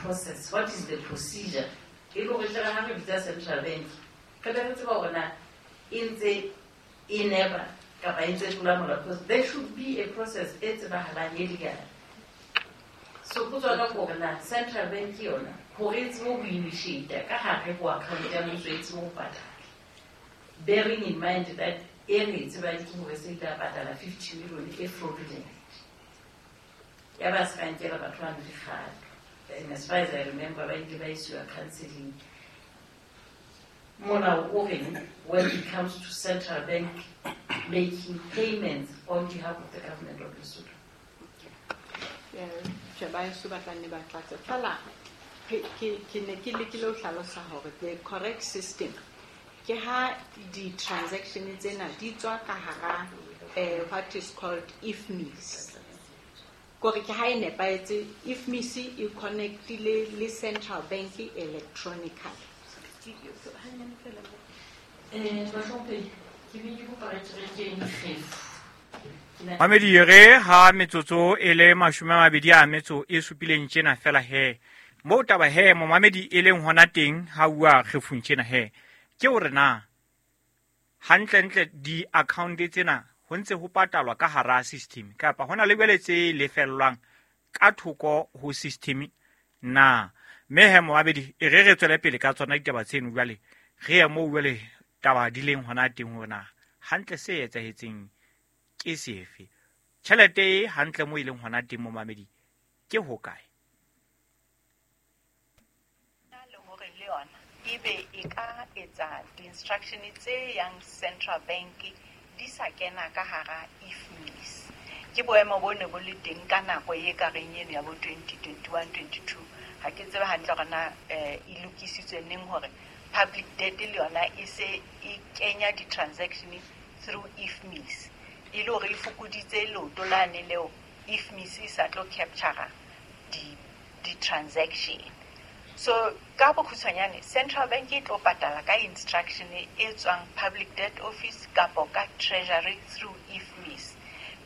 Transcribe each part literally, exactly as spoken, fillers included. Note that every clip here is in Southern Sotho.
process? What is the procedure? E le hore tle re ha re bitsa central bank, re be re tseba hore na e ntse e nepa kapa e ntse tlola molao, because there should be a process e tsebahalang e legal. So potso ya ka ke hore na central bank yona hore e tsebe ho initiate ka hare ho account ya mmuso e tsebe ho patala, bearing in mind that e re e tsebang ke hore se ile ya patala fifty million e fraudulent, ya ba se ka nkela batho bano dikgato. And as far as I remember, ba ile ba isiwa counseling. Molao o reng when it comes to central bank making payments on behalf of the government of Lesotho? Tjhe, ba heso ba tla nne ba tlatse. Fela, ke, ke, ke ne ke lekile ho hlalosa hore the correct system ke ha di-transaction tsena di tswa ka hara, eh, what is called I F M I S. Kore ke ha e nepahetse, I F M I S e connectile le central bank electronically. Eh, bahlomphehi, ke be ke kopa re ke re kene kgefu. Mamedi, re ha metsotso e le mashome a mabedi a metso e supileng tjena fela he. Moo taba he momamedi e leng hona teng ha ua kgefung tjena he. Ke hore na hantlentle di-account tsena ho ntse ho patalwa ka hara system kapa hona le jwale tse lefellwang ka thoko ho system na? Mme he momamedi, e re re tswele pele ka tsona ditaba tseno jwale, re ye moo jwale taba di leng hona teng hore na hantle se etsahetseng ke sefe, tjhelete e hantle moo e leng hona teng momamedi ke hokae. Le hore le yona ebe e ka etsa di-instruction tse yang central bank di sa kena ka hara I F M I S. Ke boemo bo ne bo le teng ka nako e ka reng eno ya bo twenty twenty-one twenty-two. Ha ke tsebe hantle hore na eh, e lokisitswe neng hore public debt le yona e se e kenya di-transaction through I F M I S, e le hore e fokoditse leoto lane leo I F M I S e sa tlo capture di-transaction. So ka bokgutshwanyane, central bank e tlo patala ka instruction e tswang public debt office kapo ka treasury through I F M I S.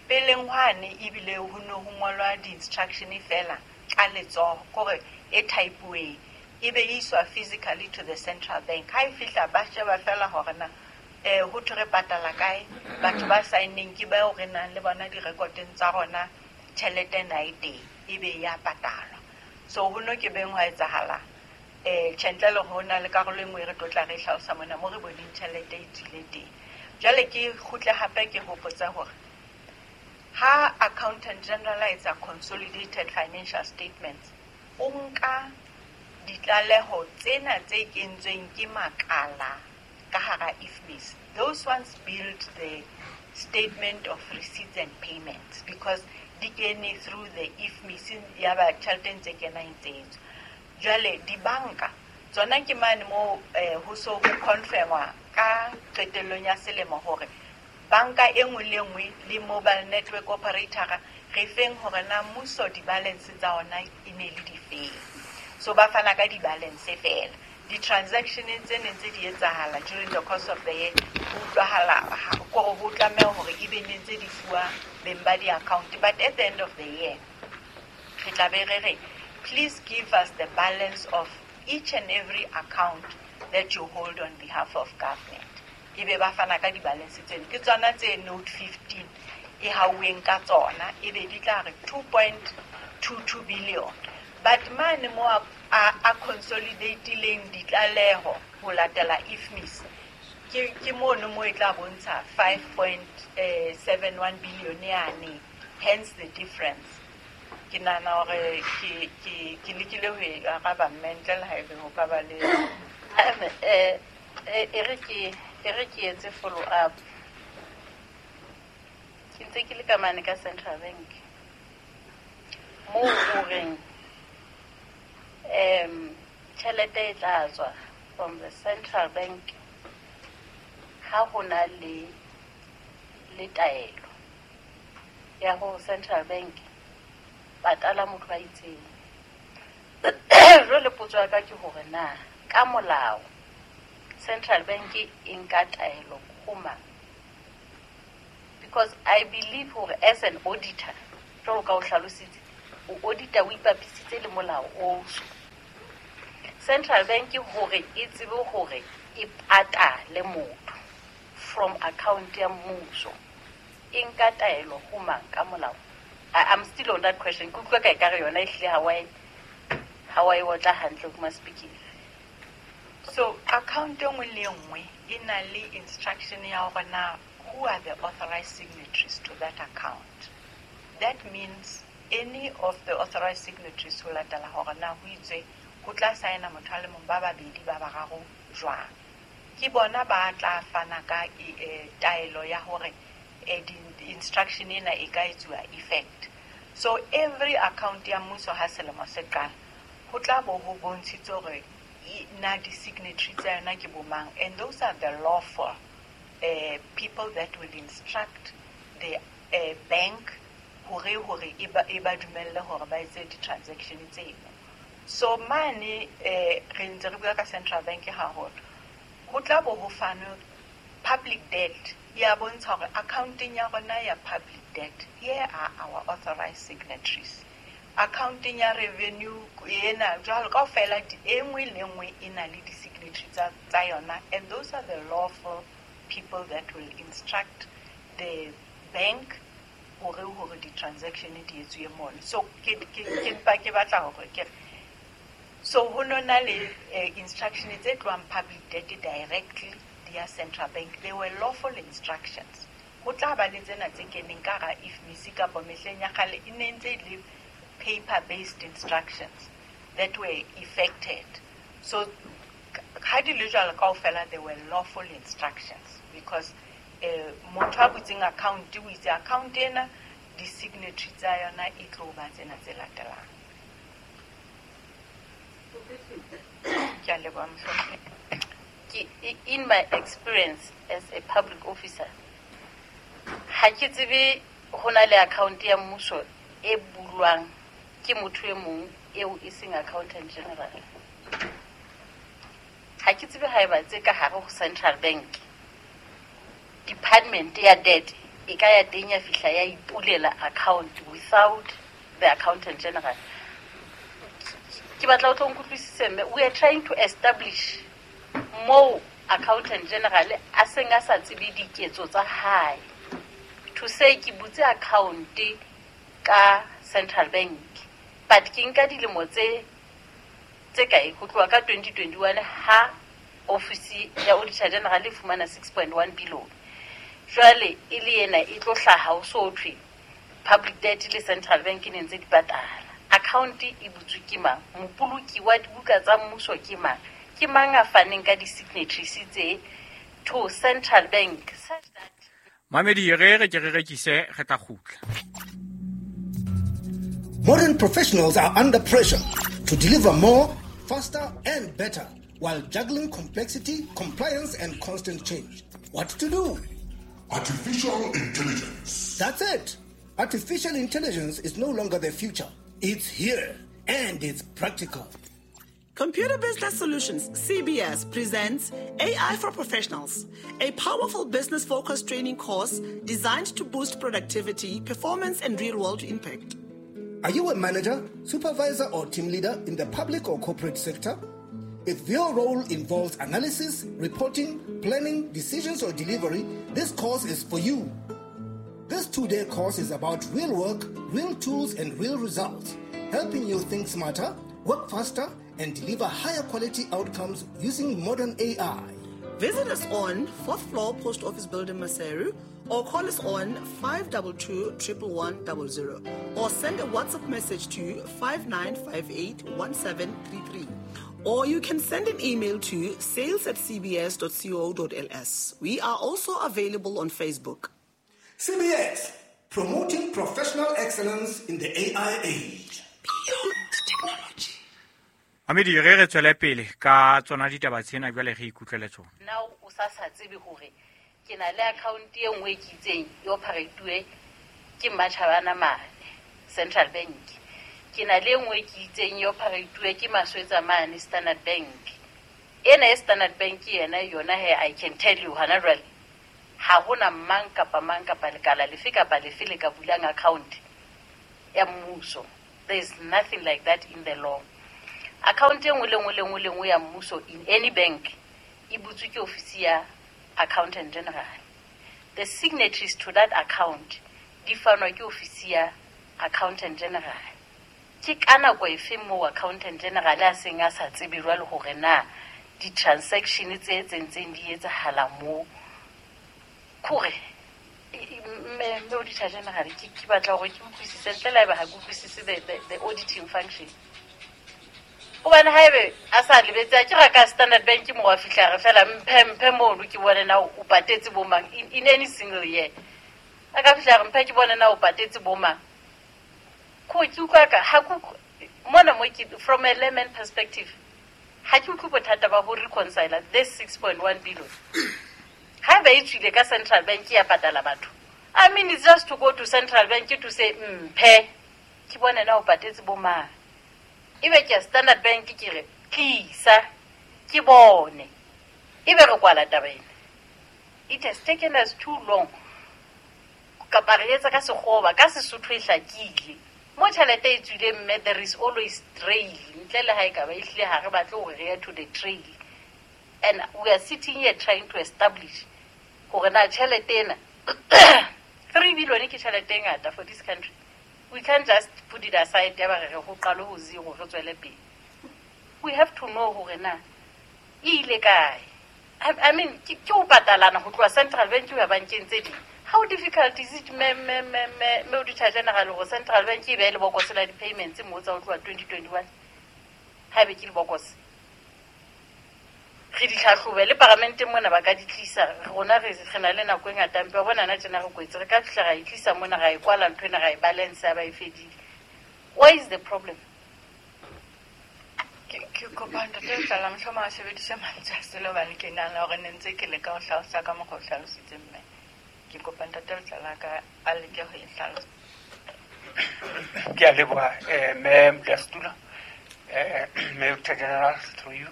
Peleng hwane ebile ho ne ho ngolwa di-instruction fela ka letsoho, kore e type-uweng, e be e iswa physically to the central bank. Ha e fihla ba sheba fela hore na eh ho thwe re patala kae, batho ba sign-eng ke bao re nang le bona direkoteng tsa rona, tjhelete na e teng, e be ya patalwa. So ho no ke beng hwa etsahala eh tjhe, ntle le ho na le karolo e nngwe e re tlo tla re hlalosa mona mo re boneng tjhelete e tswile teng. Jwale ke kgutle hape ke hopotsa hore ha accountant general a etsa consolidated financial statements, o nka ditlaleho tsena tse kentsweng ke makala ka hara I F M I S. Those ones build the statement of receipts and payments because di kene through the I F M I S, ya ba tjhelete e ntse kena e ntse e tswa. Jwale dibanka tsona ke mane mo eh, ho so ho confirmwa ka qetellong ya selemo hore banka e nngwe le nngwe le mobile network operator re feng hore na mmuso di-balance tsa ona e ne le difeng. So ba fana ka di-balance fela. Di-transaction tse neng tse di etsahala during the course of the year, ho utlwahala kore ho tlameha hore ebe ne ntse di fuwa beng ba di-account, but at the end of the year re tla be re re, "Please give us the balance of each and every account that you hold on behalf of government." Ebe ba fana ka di-balance tseno, ke tsona tse note fifteen e hauweng ka tsona, ebe di tla re two point two two billion. But mane mo a, a, a consolidatileng ditlaleho ho latela I F M I S, ke, ke mono mo e tla bontsha five point seven one billion yane, hence the difference. Ke nahana hore ke, ke, ke lekile ho e araba mme, ntle le haebe ho ka ba le Eh, eh, e re ke e re ke etse follow up. Ke ntse ke le ka mane ka central bank moo o reng um tjhelete e tla tswa from the central bank ha ho na le le taelo ya hore central bank patala motho a itseng. Jwale potso ya ka ke hore na ka molao central bank e nka taelo ho mang? Because I believe hore as an auditor, jwalo ka o hlalositse, o auditor o ipapisitse le molao o. Central Bank hore e tsebe hore e patale motho from account ya mmuso e nka taelo ho mang ka molao? I'm still on that question. Ke utlwa ka ekare yona ehlile ha wa e ha wa e otla hantle kuma speaking. So account e nngwe le e nngwe e na le instruction ya hore na who are the authorized signatories to that account. That means any of the authorized signatories ho latela hore na ho itswe ho tla saena motho a le mong, ba babedi, ba bararo jwang. Ke bona ba tla fana ka e, taelo ya hore e, di instruction ena e ka etsuwa effect. So every account ya mmuso ha selemo se qala ho tla bo ho bontshitswe hore na di-signatory tsa yona ke bo mang, and those are the lawful uh, people that will instruct the uh, bank hore hore e ba e ba dumelle hore ba etse di-transaction tseno. So mane eh re ntse re bua ka central bank haholo, ho tla bo ho fanwe public debt ya bontsha hore accounting ya rona ya public debt, here are our authorized signatories. Accounting ya revenue ena jwalo kaofela, e nngwe le nngwe e na le di-signatory tsa tsa yona, and those are the lawful people that will instruct the bank hore hore di-transaction di etsuwe mono. So ke ke ke mpa ke batla hore ke re so ho no na le eh, instruction tse tlohang public debt directly di ya central bank. They were lawful instructions. Ho tla ba le tsena tse keneng ka hara IFMIS kapa mehleng ya kgale e ne ntse e le paper based instructions that were effected. So ha di le jwalo kaofela, they were lawful instructions because eh motho a butseng account o itse account ena di-signatory tsa yona e tlo ba tsena tse latelang. Ke a leboha, mohlomphehi. Ke in my experience as a public officer, ha ke tsebe ho na le account ya mmuso e bulwang ke motho e mong eo e seng accountant general. Ha ke tsebe haeba tse ka hare ho central bank department ya debt e ka ya teng ya fihla ya ipulela account without the accountant general. Ke batla o tlo nkutlwisise mme we are trying to establish moo accountant general a seng a sa tsebe diketso tsa hae to say ke butse account ka central bank, but ke nka dilemo tse tse kae ho tloha ka twenty twenty-one ha office ya auditor general e fumana six point one billion. Jwale e le ena e tlo hlaha ho so thwe public debt le central bank e ne ntse di patala. Account e butswe ke mang? Mopoloki wa dibuka tsa mmuso ke mang? Ke mang a faneng ka di-signatories tse to central bank such that Mamedi re re ke re rekise re tla kgutla. Modern professionals are under pressure to deliver more, faster and better while juggling complexity, compliance and constant change. What to do? Artificial intelligence. That's it. Artificial intelligence is no longer the future. It's here and it's practical. Computer Business Solutions, C B S, presents A I for Professionals, a powerful business-focused training course designed to boost productivity, performance, and real-world impact. Are you a manager, supervisor, or team leader in the public or corporate sector? If your role involves analysis, reporting, planning, decisions, or delivery, this course is for you. This two-day course is about real work, real tools, and real results, helping you think smarter, work faster, and deliver higher quality outcomes using modern A I. Visit us on fourth floor Post Office Building, Maseru, or call us on five two two, triple one, double zero, or send a WhatsApp message to five nine five eight, one seven three three. Or you can send an email to sales at c b s dot co dot l s. We are also available on Facebook. C B S, promoting professional excellence in the A I age. Beyond technology. Mamedi re re tswele pele ka tsona ditaba tsena jwale re ikutlwele tsona. Now o sa sa tsebe hore ke na le account e nngwe ke itseng e operate-uwe ke Matjhabana mane Central Bank. Ke na le e nngwe ke itseng e operate-uwe ke Maswetsa mane Standard Bank. Ena e Standard Bank yena yona he I can tell you hana jwale ha hona mang kapa mang kapa lekala lefe kapa lefe le ka bulang account ya mmuso. There is nothing like that in the law. Account e nngwe le nngwe le nngwe le nngwe ya mmuso in any bank e butswe ke ofisi ya accountant general. The signatories to that account di fanwa ke ofisi ya accountant general. Ke ka nako efe moo accountant general a seng a sa tsebe jwale hore na di-transaction tse tsentseng di etsahala moo? Kore mme mme auditor general, ke ke batla hore ke utlwisise ntle le haeba ha ke utlwisise the, the, the auditing function. Hobane haebe a sa lebetse, a ke ra ka Standard Bank mo wa fihla re fela mphe mphe mono ke bone na o patetse bo mang in, in any single year. A ka fihla re mphe ke bone na o patetse bo mang. Ko ke utlwa ka ha ku mona mo ke from a layman perspective, ha ke utlwe bothata ba ho reconcile this six point one billion. Haeba e tswile ka Central Bank ya patala batho, I mean, it's just to go to Central Bank to say mphe ke bone na o patetse bo mang. Ebe ke Standard Bank ke re tlisa ke bone, ebe re kwala taba ena. It has taken us too long. Kapa re etsa ka sekgoba, ka Sesotho e hlakile mo tjhelete e tswileng, mme there is always trail. Ntle le ha e ka ba ehlile ha re batle hore re ye to the trail, and we are sitting here trying to establish hore na tjhelete ena three billion ke tjhelete e ngata for this country. We can't just put it aside ya ba re re ho qale ho zero re tswele pele. We have to know hore na e ile kae. I, I mean, ke ke ho patalana ho tloha Central Bank ho ya bankeng tse ding. How difficult is it, me me me me me auditor general, hore Central Bank e behe lebokose la di-payments moo tsa ho tloha twenty twenty-one? Haebe ke lebokose, re di hlahlobe le paramenteng mona ba ka di tlisa. Rona re re na le nako e ngata, mpe wa bona na tjena re kwetse, re ka fihla ra e tlisa mona, ra e kwala ntho ena, ra e balance, ya ba e fedile. Where is the problem? Ke ke kopa ntate Letlala mohlomong a sebedise mantswe a sele hobane ke nahana hore ne ntse ke leka ho hlalosa ka mokgwa o hlalositseng mme. Ke kopa ntate Letlala ka a leke ho e hlalosa. Ke a leboha, eh, mme Modulasetulo, eh, mme Auditor General, through you.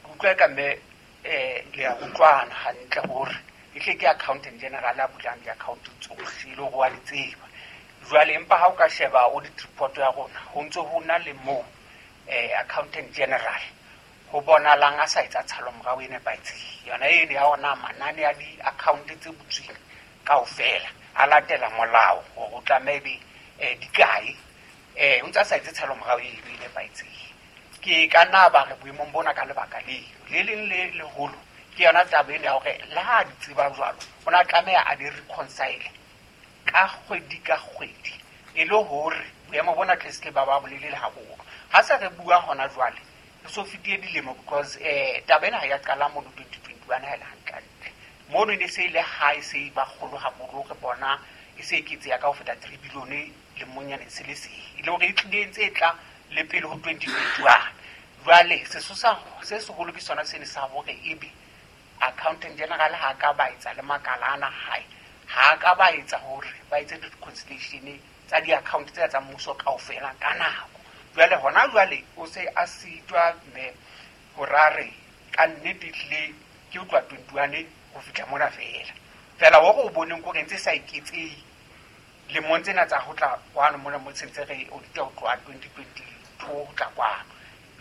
Ke utlwa ka mme, eh, le a utlwana hantle hore e hle ke accountant general a bulang di-account tsohle, e le hore wa di tseba. Jwale empa ha o ka sheba audit report ya rona, ho ntso ho na le moo, eh, accountant general ho bonahalang a sa etsa tshalomorao e nepahetseng. Yona eno ya hona manane a di-account tse butsweng kaofela a latela molao hore o tlameha ebe, eh, di kae, eh, o ntse a sa etse tshalomorao eno e nepahetseng. Ke ka nna ba re boemong bona ka lebaka leo le leng le leholo ke yona taba eno ya hore le ha a di tseba jwalo, o na tlameha a di reconcile ka kgwedi ka kgwedi, e le hore boemo bona tle se ke ba ba bolelele haholo. Ha se re bua hona jwale, re so fetile dilemo, because, eh, taba ena ha ya qala mono twenty twenty-one ha e le hantlentle. Mono e ne se e le ha e se e ba kgolo haholo, re bona e se e eketseha ka ho feta three billion lemong se le seng, e le hore e tlile e ntse e tla le pele ho twenty twenty-one. Jwale sesosa se seholo ke sona sene sa hore ebe accountant general ha ka ba etsa le makala ana hae, ha ka ba etsa hore ba etse di-reconciliation tsa di-account tse tsa mmuso kaofela ka nako. Jwale hona jwale o se a sitwa mme hore a re ka nnete ehlile ke ho tloha twenty-one ho fihla mona feela. Feela hore o boneng kore ntse e sa eketsehe lemong tsena tsa ho tla kwano mona mo sentse re audita ho tloha twenty twenty-two ho tla kwano.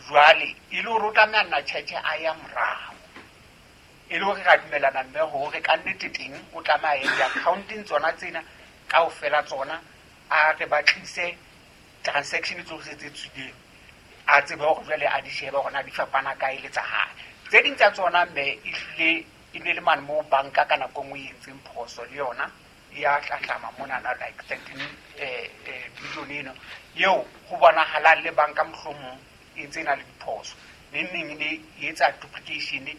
Jwale e le hore o tlameha nna tjhetjhe a ya morao, e le hore ra dumellana mme hore ka nnete teng o tlameha a ye di-accounting tsona tsena kaofela tsona, a re ba tlise transaction tsohle tse tswileng, a tsebe hore jwale a di shebe hore na di fapana kae le tsa hae. Tse ding tsa tsona mme ehlile e ne le mane moo banka ka nako e nngwe e entseng phoso le yona ya hlahlama monana like thirteen, eh, eh, billion eno eo ho bonahalang le banka mohlomong e ntse e na le diphoso. Neng neng e ne e etsa duplication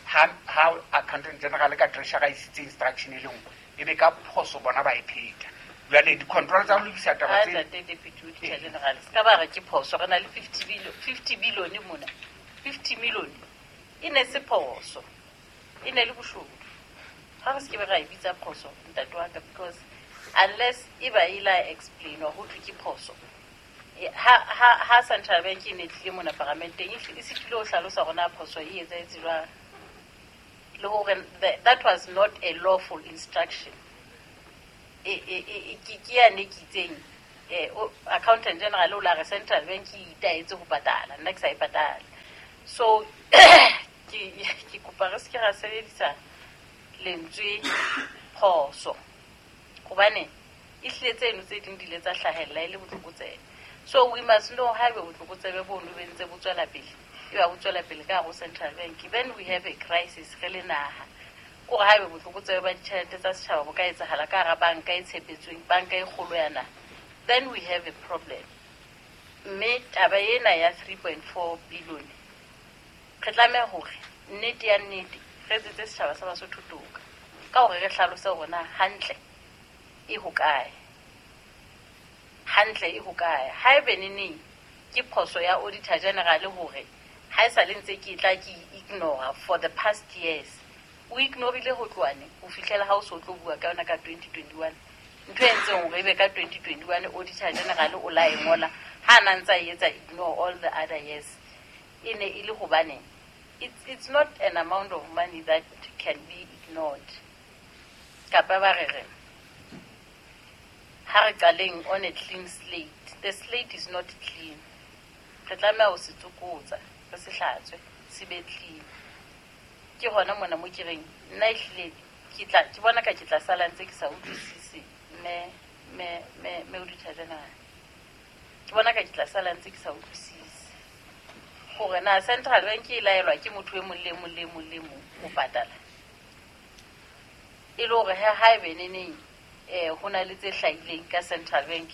ha, ha accountant general ka treasurer e isitse instruction e le nngwe, e be ka phoso bona ba e pheta. Jwale di-control tsa ho lokisa taba Ha tse ntate Deputy Auditor General, se ka ba re ke phoso, re na le fifty billion, fifty billion mona, fifty million e ne se phoso, e ne le boshodu. Ha re se ke be ra e bitsa phoso ntate wa ka, because unless e ba e la explain ho thwe ke phoso. E, ha, ha, ha Central Bank e ne tlile mona paramenteng, e hl-, e sitilwe ho hlalosa hore na phoso e etsahetse jwang, le hore the, that was not a lawful instruction. E, e, e, e, ke, ke yane ke itseng eh accountant general o la re Central Bank e itaetse ho patala, nna ke sa e patala. So ke ke kopa re se ke ra sebedisa lentswe phoso hobane e hlile tseno tse ding di ile tsa hlahella e le botlokotsebe. So we must know haebe botlokotsebe bono bo ntse bo tswela pele, e ba bo tswela pele ka hare ho Central Bank, then we have a crisis re le naha. Kore haebe botlokotsebe ba ditjhelete tsa setjhaba bo ka etsahala ka hara banka e tshepetsweng, banka e kgolo ya naha, then we have a problem. Mme taba ena ya three point four billion re tlameha hore nnete ya nnete re etsetse setjhaba sa Basotho toka ka hore re hlalose hore na hantle e hokae, hantle e hokae. Haebe neneng ke phoso ya Auditor General hore ha e sa le ntse ke tla ke ignore for the past years, o ignorile ho tloha neng ho fihlela ha o so tlo bua ka yona ka twenty twenty-one. Ntho e entseng hore ebe ka twenty twenty-one Auditor General o la e ngola ha na ntsa e etsa ignore all the other years, e ne e le hobaneng? It's, it's not an amount of money that can be ignored. Kapa ba re re ha re qaleng on a clean slate. The slate is not clean. Re tlameha ho se tsokotsa, re se hlatswe, se be clean. Ke hona mona mo ke reng nna ehlile ke tla ke bona ka ke tla sala ntse ke sa utlwisise mme mme mme mme Auditor General. Ke bona ka ke tla sala ntse ke sa utlwisise hore na Central Bank e laelwa ke motho e mong le mong le mong le mong ho patala. E le hore ha haebe neneng eh ho na le tse hlahileng ka Central Bank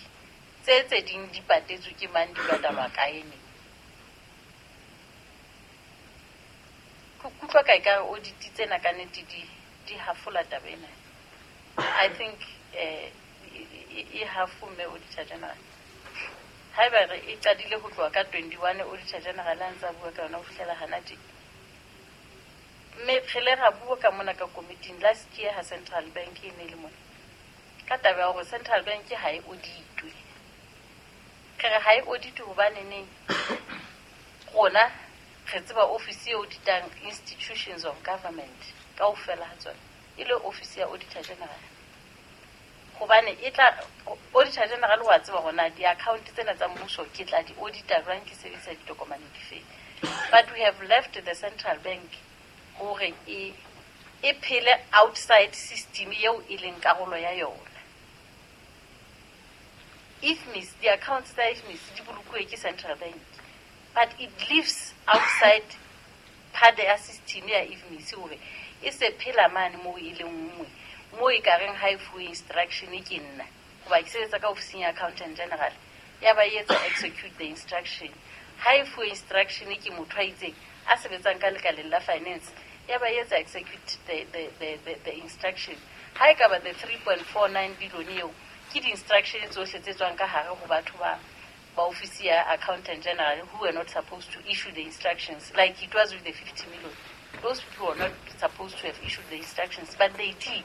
tse tse ding di patetswe ke mang, di patalwa kae neng. Ke kutlwa ka ekare audit tsena ka nnete di di hafola taba ena. I think eh e hafo mme Auditor General. Haeba re e qadile ho tloha ka twenty-one Auditor General a ntsa bua ka yona ho fihlela hana tje. Mme re le ra bua ka mona ka committee last year ha Central Bank e ne le mona ka taba ya hore Central Bank ha e auditwe. Re re ha e auditwe hobane neng rona re tseba office e auditang institutions of government kaofela ha tsona e le office ya Auditor General. Hobane e tla Auditor General wa tseba hore na di-account tsena tsa mmuso ke tla di audita jwang, ke sebedisa ditokomane dife. But we have left the Central Bank hore e e phele outside system eo e leng karolo ya yona. I F M I S, the accounts tsa I F M I S di bolokuwe ke Central Bank, but it lives outside part ya system ya I F M I S hore e se phela mane moo e le nngwe mo e ka reng ha e fuwe instruction ke nna hoba ke sebetsa ka ofising ya Accountant General ya ba e etsa execute the instruction. Ha e fuwe instruction ke motho a itseng a sebetsang ka lekaleng la finance ya ba e etsa execute the, the, the, the, the instruction. Ha e ka ba the three point four nine billion eo ke di-instruction tsohle tse tswang ka hare ho batho ba ba ofisi ya Accountant General who were not supposed to issue the instructions, like it was with the fifty million. Those people were not supposed to have issued the instructions, but they did.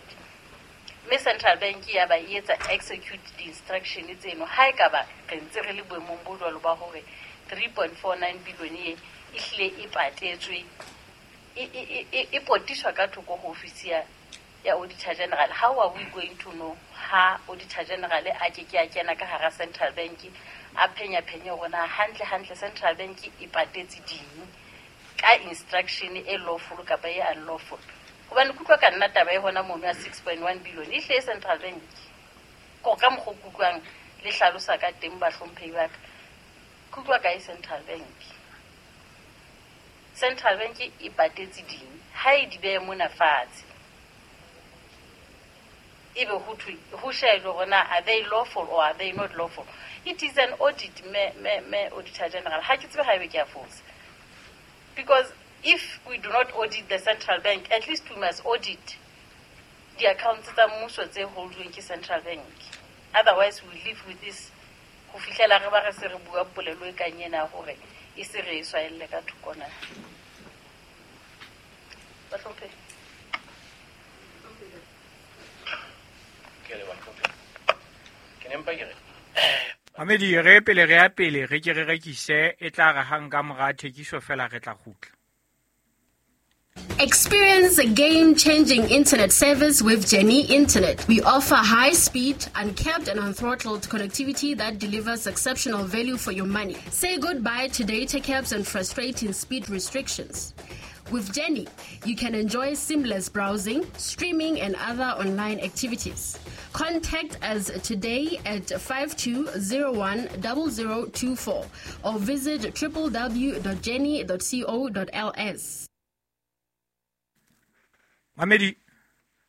Mme Central Bank ya ba e etsa execute the instruction tseno. Ha e ka ba re ntse re le boemong bo jwalo ba hore three point four nine billion e e hlile e patetswe e e e e potiswa ka thoko ho ofisi ya ya Auditor General. How are we going to know ha Auditor General a ke ke a kena ka hara Central Bank a phenya phenya hore na hantle hantle Central Bank e patetse ding ka instruction e lawful kapa e unlawful? Hobane kutlwa ka nna taba e hona mono ya six point one billion e hle Central Bank ko ka mokgo kutlwang le hlalosa ka teng bahlomphehi ba ka kutlwa ka e Central Bank. Central Bank e patetse ding ha e di behe mona fatshe ebe ho thwe ho shejwe hore na are they lawful or are they not lawful. It is an audit me me me Auditor General. Ha ke tsebe haebe ke a fosa, because if we do not audit the Central Bank, at least we must audit the accounts tsa mmuso tse holdweng ke Central Bank. Otherwise we live with this ho fihlela re ba re se re bua polelo e kang ena hore e se re e swaelle ka thoko na. Bahlomphehi. Ke a leboha, Mohlomphehi. Ke ne mpa ke re Mamedi, re pele re ya pele re ke re rekise e tla re hang ka mora thekiso fela re tla kgutla. Experience a game-changing internet service with Jenny Internet. We offer high-speed, uncapped and unthrottled connectivity that delivers exceptional value for your money. Say goodbye to data caps and frustrating speed restrictions. With Jenny, you can enjoy seamless browsing, streaming and other online activities. Contact us today at five two zero one zero zero two four or visit w w w dot jenny dot co dot l s. Mamedi,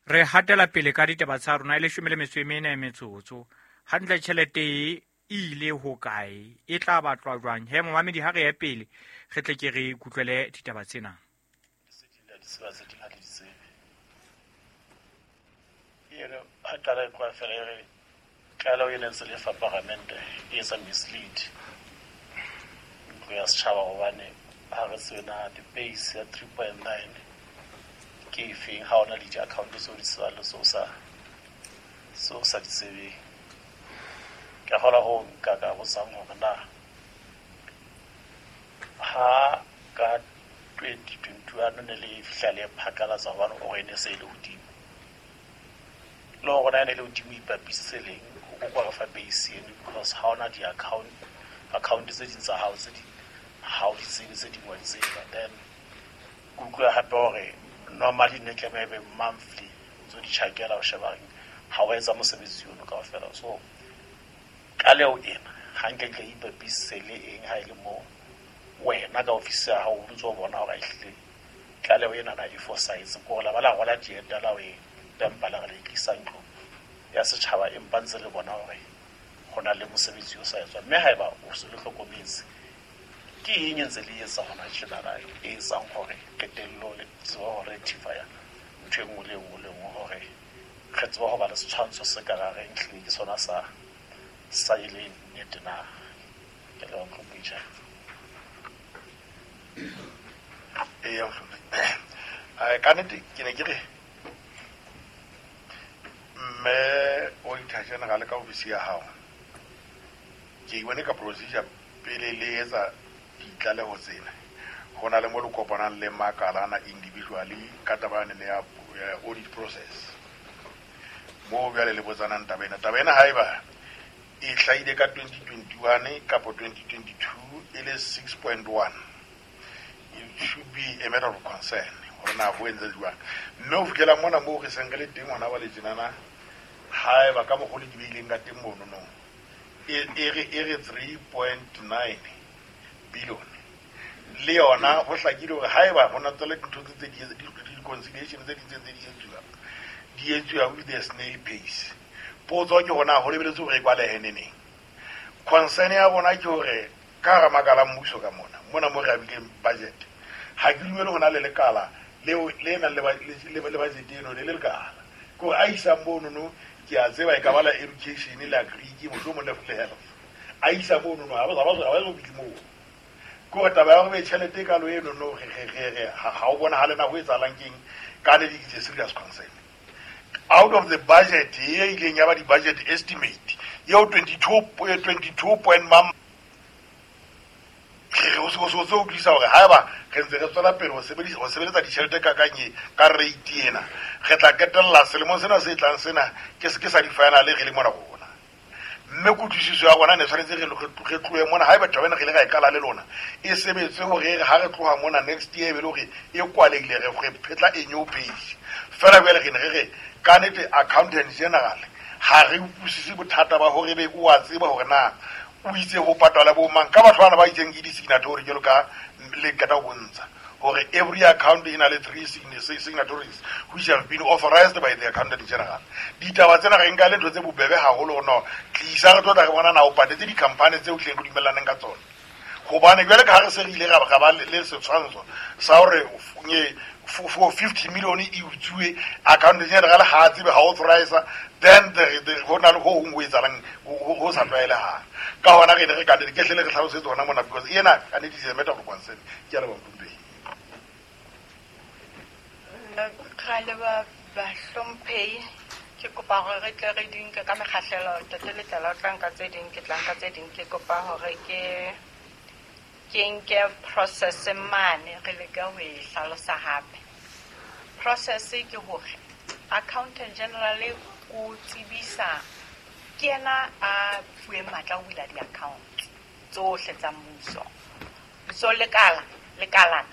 re hatela pele ka ditaba tsa rona e leshome le metso e mene metsotso. Hantle tjhelete e ile ho kae? E tla batlwa jwang? He momamedi, ha re ye pele re tle ke re kutlwele ditaba tsena. Tseba tse ding ha di tsebe. Ere ha qala e kwa fela ere tlaleho e ne ntse le fa paramente e etsa mislead ntlo ya setjhaba hobane ha re tsebe na di-base ya three point nine ke efeng, ha ona le di-account tseo di tsebang le tseo sa tseo sa di tsebeng. Ke kgolwa ho nka ka botsang hore na ha ka twenty twenty-one ne le fihla le phakalatsa hobane o re ne se e le hodimo. Le hore na e ne le hodimo ipapisitse leng, o kwa re fa base eno because ha ona di-account, account tse ding tsa hao tse ding ha o di tsebe, tse ding wa di tseba. Then ke utlwa hape hore normally ne tlameha e be monthly ntso di tjhakela ho sheba ha o etsa mosebetsi ono kaofela. So tlaleho ena ha nke ke ipapisitse le eng ha e le moo wena ka ofisi ya hao o ntso bona hore ehlile tlaleho ena na e fosahetse, ke hore la ba la rwala dieta la ho e tempa la re le tlisa ntlo ya setjhaba, empa ntse le bona hore ho na le mosebetsi o sa etswang. Mme haeba o se le hlokometse, ke eng e ntse le etsa hona tjenana e etsang hore qetellong le tsebe ho rectify-a ntho e nngwe le e nngwe le nngwe hore re tsebe ho ba le setshwantsho se ka reng ehlile ke sona sa sa e le nnete na? Ke leboha Nkompitjha. Eya, eh, ka nnete ke ne ke re mme Auditor General ka ofisi ya hao, ke bone ka procedure pele le etsa ditlaleho tsena, ho na le mo le kopanang le makalana individually ka taba yane ya audit process moo bjale le botsanang taba ena. Taba ena haeba e hlahile ka twenty twenty-one kapo twenty twenty-two e le six point one, it should be a matter of concern hore na ho entse jwang. Mme ho fihlela mona moo re seng re le teng hona ba le tjenana, haeba ka mokgwa o le di beileng ka teng mono no, e re e re three point nine billion le yona ho hlakile hore haeba ho na tsela dintho tse di di-reconciliation tse ding tse di etsuwang di etsuwa with the snail pace. Potso ke hona ho lebeletse hore e kwalehe neneng. Concern ya bona ke hore ka hara makala a mmuso ka mona mona mo re abileng budget, ha ke dumele ho na le lekala leo le nang le le budget eno le le lekala ke hore a isang mono no, ke a tseba e ka ba la education le agric mohlomong le health, a isa mono no ha ba ba ba ba moo. Ke hore taba ya hore tjhelete e kalo eno no re re re ha o bonahale na ho etsahalang keng, ka ne di serious concern. Out of the budget e ileng ya ba di-budget estimate eo twenty-two twenty-two point mam re o se o se utlwisa hore haeba re ntse re tswela pele ho sebedisa ho sebeletsa ditjhelete ka kanye ka rate ena, re tla qetella selemong sena se tlang sena ke se ke sa di-final re le mona rona. Mme kutlwisiso ya rona ne tshwanetse re re tlohe mona haeba taba ena re ile ra e qala le lona e sebetse hore ha re tloha mona next year e be le hore e kwalehile, re re phetla a new page. Fela jwale re ne re re ka nnete accountant general ha re utlwisise bothata ba hore be o a tseba hore na o itse ho patala bo mang ka batho bana ba itseng ke di-signatory jwalo ka le qeta ho bontsha hore every account e na le three signatories which have been authorized by the accountant general. Ditaba tsena re nka le ntho tse bobebe haholo no tlisa re tlo tla re bona na o patetse di-company tseo tleng re dumellaneng ka tsona. Hobane jwale ka ha re se re ile ra ba le setshwantsho sa hore for fifty million e utsuwe accountant general ha a tsebe ha authorize, then the ho na le ho hong ho etsahalang ho sa tlwaelehang. Ka hona re ne re ka ke hlele re hlalosetse hona mona because ena ka nnete is a matter of concern. Ke a leboha Ntombi. Ra leboha bahlomphehi. Ke kopa hore re tle re di nke ka mekgahlelo. Ntate Letlala o tla nka tse ding, ke tla nka tse ding. Ke kopa hore ke ke nke process mane re leke ho e hlalosa hape. Process ke hore accountant general o tsebisa, ke yena a fuweng matla ho bula di-account tsohle tsa mmuso. So lekala lekalana